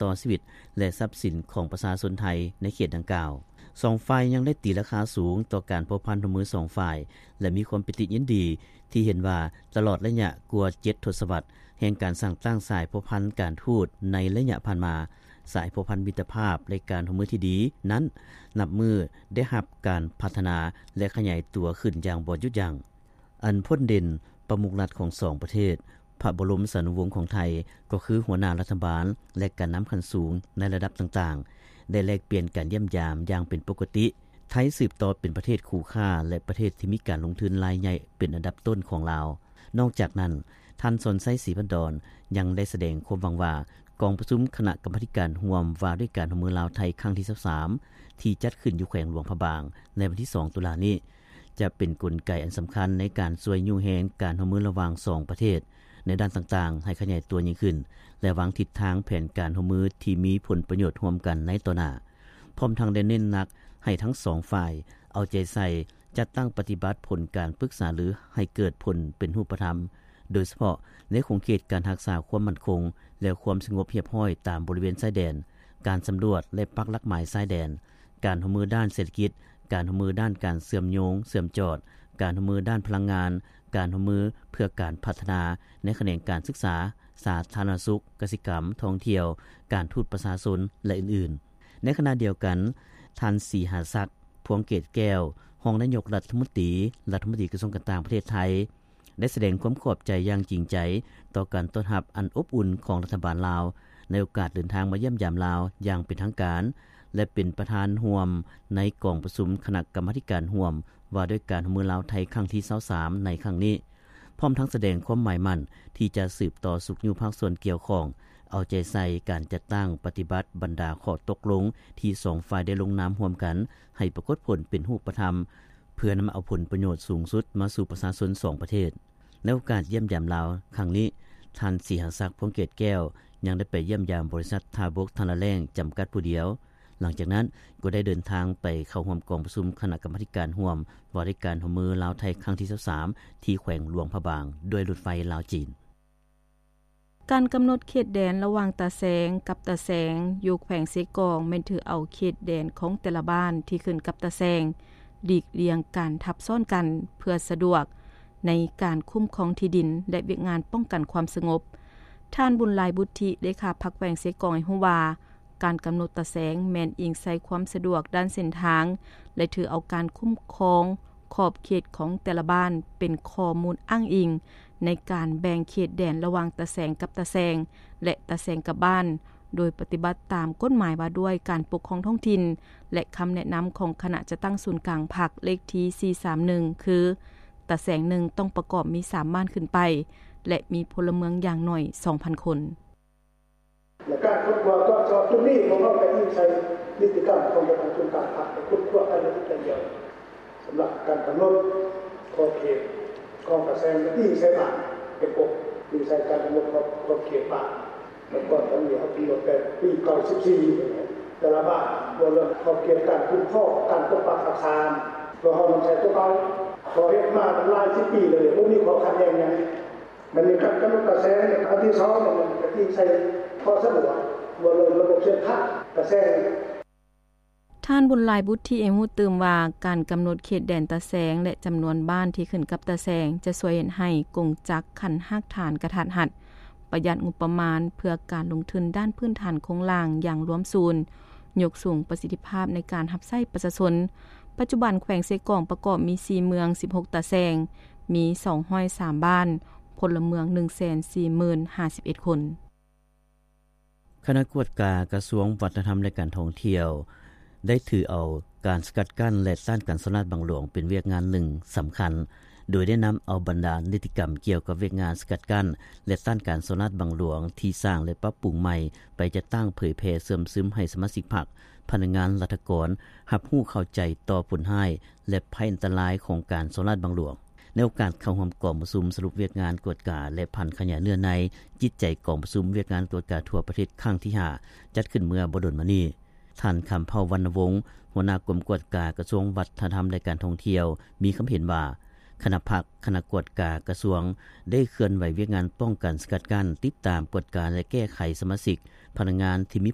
ຕໍ່ຊີວິດ ແລະ ຊັບສິນຂອງປະຊາຊົນໄທໃນເຂດດັ່ງກ່າວ. ສອງຝ່າຍຍັງໄດ້ຕີລາຄາສູງຕໍ່ການພົວພັນຮ່ວມມືສອງຝ່າຍ ແລະ ມີຄວາມປິຕິຍິນດີທີ່ເຫັນວ່າຕະຫຼອດໄລຍະກວ່າເຈັດທົດສະວັດແຫ່ງການສ້າງຕັ້ງສາຍພົວພັນການທູດໃນໄລຍະຜ່ານມາ, ສາຍພົວພັນມິດຕະພາບ ແລະ ການຮ່ວມມືທີ່ດີນັ້ນ ນັບມື້ໄດ້ຮັບການພັດທະນາ ແລະ ຂະຫຍາຍຕົວຂຶ້ນຢ່າງບໍ່ຢຸດຢັ້ງ. ອັນພົ້ນເດັ່ນປະມຸກລັດຂອງສອງປະເທດ, ພະບໍລົມສານຸວົງຂອງໄທ ກໍຄືຫົວໜ້າລັດຖະບານ ແລະ ການນຳຂັ້ນສູງໃນລະດັບຕ່າງໆ ໄດ້ແລກປ່ຽນການຢ້ຽມຢາມຢ່າງເປັນປົກກະຕິ. ໄທສືບຕໍ່ເປັນປະເທດຄູ່ຄ້າ ແລະ ປະເທດທີ່ມີການລົງທຶນລາຍໃຫຍ່ເປັນອັນດັບຕົ້ນຂອງລາວ. ນອກຈາກນັ້ນ, ທ່ານ ສອນໄຊ ສີພັນດອນ ຍັງໄດ້ສະແດງຄວາມຫວັງວ່າ ກອງປະຊຸມຄະນະກຳມາທິການຮ່ວມວ່າດ້ວຍການຮ່ວມມືລາວ-ໄທ ຄັ້ງທີຊາວສາມ ທີ່ຈັດຂຶ້ນຢູ່ແຂວງຫຼວງພະບາງ ໃນວັນທີສອງ ຕຸລານີ້ ຈະເປັນກົນໄກອັນສຳຄັນໃນການຊ່ວຍຍູ້ແຮງການຮ່ວມມືລະຫວ່າງສອງປະເທດ ໃນດ້ານຕ່າງໆ ໃຫ້ຂະຫຍາຍຕົວຍິ່ງຂຶ້ນ ແລະ ວາງທິດທາງແຜນການຮ່ວມມືທີ່ມີຜົນປະໂຫຍດຮ່ວມກັນໃນຕໍ່ໜ້າ. ພ້ອມທັງໄດ້ເນັ້ນໜັກໃຫ້ທັງສອງຝ່າຍເອົາໃຈໃສ່ ຈັດຕັ້ງປະຕິບັດຜົນການປຶກສາລືໃຫ້ເກີດຜົນເປັນຮູບປະທຳ, ໂດຍສະເພາະໃນຂົງເຂດການຮັກສາຄວາມໝັ້ນຄົງ ແລະ ຄວາມສະຫງົບຮຽບຮ້ອຍຕາມບໍລິເວນຊາຍແດນ, ການສຳຫຼວດ ແລະ ປັກຫຼັກໝາຍຊາຍແດນ, ການຮ່ວມມືດ້ານເສດຖະກິດ, ການຮ່ວມມືດ້ານການເຊື່ອມໂຍງ, ເຊື່ອມຈອດ, ການຮ່ວມມືດ້ານພະລັງງານ, ການຮ່ວມມືເພື່ອການພັດທະນາໃນຂະແໜງການສຶກສາ, ສາທາລະນະສຸກ, ກະສິກຳ, ທ່ອງທ່ຽວ, ການທູດປະຊາຊົນ ແລະ ອື່ນໆ. ໃນຂະນະດຽວກັນ, ທ່ານ ສີຫາສັກ ພວງເກດແກ້ວ ຮອງນາຍົກລັດຖະມົນຕີ, ລັດຖະມົນຕີກະຊວງການຕ່າງປະເທດໄທ ໄດ້ສະແດງຄວາມຂອບໃຈຢ່າງຈິງໃຈຕໍ່ການຕ້ອນຮັບອັນອົບອຸ່ນຂອງລັດຖະບານລາວ ໃນໂອກາດເດີນທາງມາຢ້ຽມຢາມລາວຢ່າງເປັນທາງການ ແລະ ເປັນປະທານຮ່ວມໃນກອງປະຊຸມຄະນະກຳມາທິການຮ່ວມວ່າດ້ວຍການຮ່ວມມືລາວ-ໄທ ຄັ້ງທີຊາວສາມ ໃນຄັ້ງນີ້. ພ້ອມທັງສະແດງຄວາມໝາຍໝັ້ນທີ່ຈະສືບຕໍ່ຊຸກຍູ້ພາກສ່ວນກ່ຽວຂ້ອງ ເອົາໃຈໃສ່ການຈັດຕັ້ງປະຕິບັດບັນດາຂໍ້ຕົກລົງທີ່ສອງຝ່າຍໄດ້ລົງນາມຮ່ວມກັນ ໃຫ້ປາກົດຜົນເປັນຮູບປະທຳ ເພື່ອນຳເອົາຜົນປະໂຫຍດສູງສຸດມາສູ່ປະຊາຊົນສອງປະເທດ. ໃນໂອກາດຢ້ຽມຢາມລາວຄັ້ງນີ້, ທ່ານ ສີຫາສັກ ພວງເກດແກ້ວ ຍັງໄດ້ໄປຢ້ຽມຢາມບໍລິສັດທ່າບົກທາລະແລ້ງ ຈຳກັດຜູ້ດຽວ. ຫຼັງຈາກນັ້ນກໍໄດ້ເດີນທາງໄປເຂົ້າຮ່ວມກອງປະຊຸມຄະນະກຳມາທິການຮ່ວມວ່າດ້ວຍການຮ່ວມມືລາວ-ໄທ ຄັ້ງທີຊາວສາມ ທີ່ແຂວງຫຼວງພະບາງ ດ້ວຍລົດໄຟລາວ-ຈີນ. ການກຳນົດເຂດແດນລະຫວ່າງຕາແຊງກັບຕາແຊງຢູ່ແຂວງເຊກອງ ແມ່ນຖືເອົາເຂດແດນຂອງແຕ່ລະບ້ານທີ່ຂຶ້ນກັບຕາແຊງ ຫຼີກລ່ຽງການທັບຊ້ອນກັນ ເພື່ອສະດວກໃນການຄຸ້ມຄອງທີ່ດິນ ແລະ ວຽກງານປ້ອງກັນຄວາມສະຫງົບ. ທ່ານ ບຸນຫຼາຍ ບຸດທິ ເລຂາພັກແຂວງເຊກອງ ໃຫ້ຮູ້ວ່າ ການກຳນົດຕາແຊງແມ່ນອີງໃສ່ຄວາມສະດວກດ້ານເສັ້ນທາງ ແລະ ຖືເອົາການຄຸ້ມຄອງຂອບເຂດຂອງແຕ່ລະບ້ານເປັນຂໍ້ມູນອ້າງອີງໃນການແບ່ງເຂດແດນລະຫວ່າງຕາແຊງກັບຕາແຊງ ແລະ ຕາແຊງກັບບ້ານ ໂດຍປະຕິບັດຕາມກົດໝາຍວ່າດ້ວຍການປົກຄອງທ້ອງຖິ່ນ ແລະ ຄຳແນະນຳຂອງຄະນະຈັດຕັ້ງສູນກາງພັກເລກທີສີ່ສາມໜຶ່ງ ຄື ຕາແຊງໜຶ່ງຕ້ອງປະກອບມີສາມບ້ານຂຶ້ນໄປ ແລະ ມີພົນລະເມືອງຢ່າງໜ້ອຍສອງພັນຄົນ. ແລະ ການຄົ້ນຄວ້າຕອບໂຈດຈຸດນີ້ ພວກເຮົາກໍອີງໃສ່ນິຕິກຳຂອງການປະຊຸມການພັກ ໄດ້ຄົ້ນຄວ້າກັນລະອຽດລະອຽດ ສຳລັບການກຳນົດຂອບເຂດຂອງກະແສງ ອີງໃສ່ບ້ານເປັນປົກ, ອີງໃສ່ການກຳນົດຂອບ ຂອບເຂດບ້ານ. ແລ້ວກ່ອນໜ້ານີ້ເຮົາກຳນົດແຕ່ປີເກົ້າສິບສີ່ ແຕ່ລະບ້ານ ເວົ້າເລື່ອງຂອບເຂດການຄຸ້ມຄອງ ການປົກປັກຮັກສາ ພວກເຮົານຳໃຊ້ຕົວເກົ່າ ເຮົາເຮັດມາຫຼາຍສິບປີແລ້ວ ບໍ່ມີຂໍ້ຂັດແຍ່ງຫຍັງ. ບັດນີ້ການກຳນົດກະແສງອັນທີສອງນີ້ ກະຕິໃສ່ຂໍ້ສະດວກ ວ່າເລື່ອງລະບົບເສັ້ນທາງກະແສງ. ທ່ານ ບຸນຫຼາຍ ບຸດທິ ໃຫ້ຮູ້ຕື່ມວ່າ ການກຳນົດເຂດແດນຕາແຊງ ແລະ ຈຳນວນບ້ານທີ່ຂຶ້ນກັບຕາແຊງ ຈະຊ່ວຍເຮັດໃຫ້ກົງຈັກຂັ້ນຮາກຖານກະທັດຮັດ, ປະຢັດງົບປະມານເພື່ອການລົງທຶນດ້ານພື້ນຖານໂຄງລ່າງຢ່າງລວມສູນ, ຍົກສູງປະສິດທິພາບໃນການຮັບໃຊ້ປະຊາຊົນ. ປັດຈຸບັນແຂວງເຊກອງປະກອບມີສີ່ເມືອງ, ສິບຫົກຕາແຊງ, ມີສອງຮ້ອຍສາມບ້ານ, ພົນລະເມືອງໜຶ່ງແສນສີ່ໝື່ນຫ້າສິບເອັດຄົນ. ຄະນະກວດກາກະຊວງວັດທະນະທຳ ແລະ ການທ່ອງທ່ຽວ ໄດ້ຖືເອົາການສະກັດກັ້ນ ແລະ ຕ້ານການສໍ້ລາດບັງຫຼວງ ເປັນວຽກງານໜຶ່ງສຳຄັນ, ໂດຍໄດ້ນຳເອົາບັນດານິຕິກຳກ່ຽວກັບວຽກງານສະກັດກັ້ນ ແລະ ຕ້ານການສໍ້ລາດບັງຫຼວງ ທີ່ສ້າງ ແລະ ປັບປຸງໃໝ່ ໄປຈັດຕັ້ງເຜີຍແຜ່ເຊື່ອມຊຶມໃຫ້ສະມາຊິກພັກ, ພະນັກງານລັດຖະກອນ ຮັບຮູ້ເຂົ້າໃຈຕໍ່ຜົນຮ້າຍ ແລະ ໄພອັນຕະລາຍຂອງການສໍ້ລາດບັງຫຼວງ. ໃນໂອກາດເຂົ້າຮ່ວມກອງປະຊຸມສະຫຼຸບວຽກງານກວດກາ ແລະ ຜັນຂະຫຍາຍເນື້ອໃນຈິດໃຈກອງປະຊຸມວຽກງານກວດກາທົ່ວປະເທດຄັ້ງທີຫ້າ ຈັດຂຶ້ນເມື່ອບໍ່ດົນມານີ້, ທ່ານ ຄຳເຜົ່າ ວັນນະວົງ ຫົວໜ້າກົມກວດກາກະຊວງວັດທະນະທຳ ແລະ ການທ່ອງທ່ຽວ ມີຄຳເຫັນວ່າ ຄະນະພັກ, ຄະນະກວດກາກະຊວງ ໄດ້ເຄື່ອນໄຫວວຽກງານປ້ອງກັນ, ສະກັດກັ້ນ, ຕິດຕາມ, ກວດກາ ແລະ ແກ້ໄຂສະມາຊິກ, ພະນັກງານທີ່ມີ